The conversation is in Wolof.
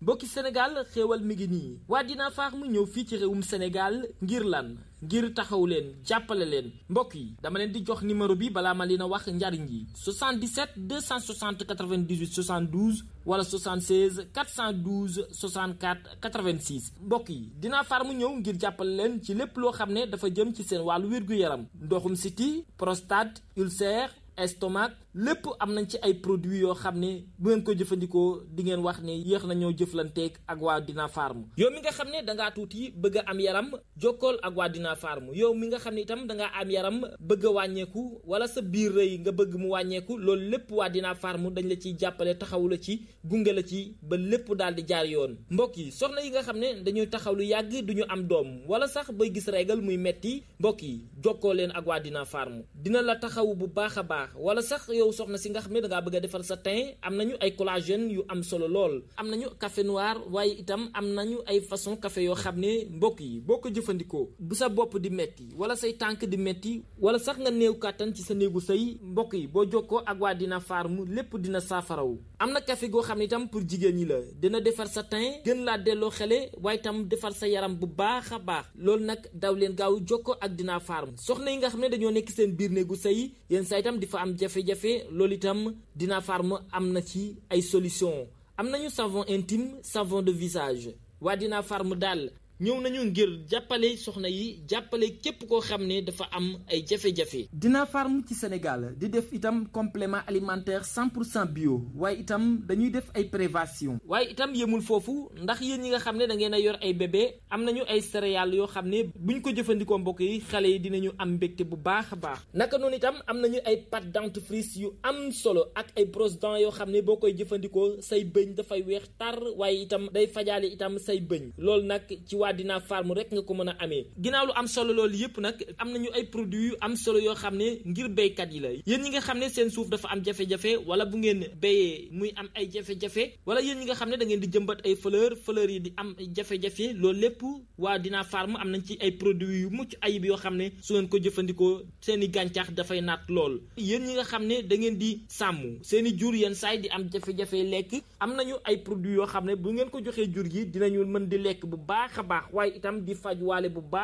mbokki Sénégal xéewal mi ngi nii waa Dina Farm ñëw fii ci réewum Sénégal ngir lan ngir taxaw leen jàppale leen mbokk yi dama leen di jox numéro bi balaa ma leen a wax njariñ yi 77 260 98 72 wala 76 412 64 86 mbokk yi Dina Farm ñëw ngir jàppale leen ci lépp loo xam ne dafa jëm ci seen wàllu wér-gu-yaram ndoxum siti prostate ulcère estomac lépp am nañ ci ay produits yoo xam ne bu ngeen ko jëfandikoo di ngeen wax ne yéex nañoo jëflanteeg ak waa Dina Farm yow mi nga xam ne dangaa tuuti bëgg a am yaram jokkool ak waa Dina Farm yow mi nga xam ne itam dangaa am yaram bëgg a wàññeeku wala sa biir rëy nga bëgg mu wàññeeku loolu lépp waa Dina Farm dañ la ciy jàppale taxawu la ci gunge la ci ba lépp daal di jaar yoon mbokk yi soxna yi nga xam ne dañuy taxaw lu yàgg duñu am doom wala sax bay gis régal muy metti mbokk yi jokkoo leen ak waa Dina Farm dina la taxawu bu baax a baax wala sax yow soxna si nga xam ne dangaa bëgg a defar sa teint am nañu ay collagène yu am solo lool am nañu café noir waaye itam am nañu ay façon café yoo xam ne mbokk yi boo ko jëfandikoo bu sa bopp di metti wala say tànk di metti wala sax nga néew kàttan ci sa néegu sëy mbokk yi boo jokkoo ak waa Dina Farm lépp dina saafarawu am na café goo xam ne itam pour jigéen ñi la dina defar sa teint gën laa delloo xele waaye itam defar sa yaram bu baax a baax loolu nag daw leen gaaw jokkoo ak Dina Farm soxna yi nga xam ne dañoo nekk seen biir néegu sëy yéen saa itam di fa am jafe-jafe loolu itam Dina Farm am na ci ay solution am nañu savon intime savon de visage waa Dina Farm daal ñëw nañu ngir jàppale soxna yi jàppale képp koo xam ne dafa am ay jafe-jafe. Dina Farm ci Sénégal di def itam complément alimentaire 100% bio waaye itam dañuy def ay prévention waaye itam yemul foofu ndax yéen ñi nga xam ne da ngeen a yor ay bébé am nañu ay céréales yoo xam ne buñ ko jëfandikoo mbokk yi xale yi dinañu am mbégte bu baax a baax naka noonu itam am nañu ay pâte dentifrice yu am solo ak ay brosse dents yoo xam ne boo koy jëfandikoo say bëñ dafay weex tar waaye itam day fajaale itam say bëñ loolu nag ci waa Dina Farm rek nga ko mën a amee ginnaaw lu am solo loolu yëpp nag am nañu ay produits yu am solo yoo xam ne ngir béykat yi la yéen ñi nga xam ne seen suuf dafa am jafe-jafe wala bu ngeen béyee muy am ay jafe-jafe wala yéen ñi nga xam ne da ngeen di jëmbat ay fleur yi di am jafe-jafe loolu lépp waa Dina Farm am nañ ci ay produits yu mucc ayib yoo xam ne su ngeen ko jëfandikoo seen i gàncax dafay naat lool yéen ñi nga xam ne da ngeen di sàmm seen i jur yenn saay di am jafe-jafe lekk am nañu ay produits yoo xam ne bu ngeen ko joxee jur gi dinañu mën di lekk bu baax a baax waaye itam di faj waale bu baax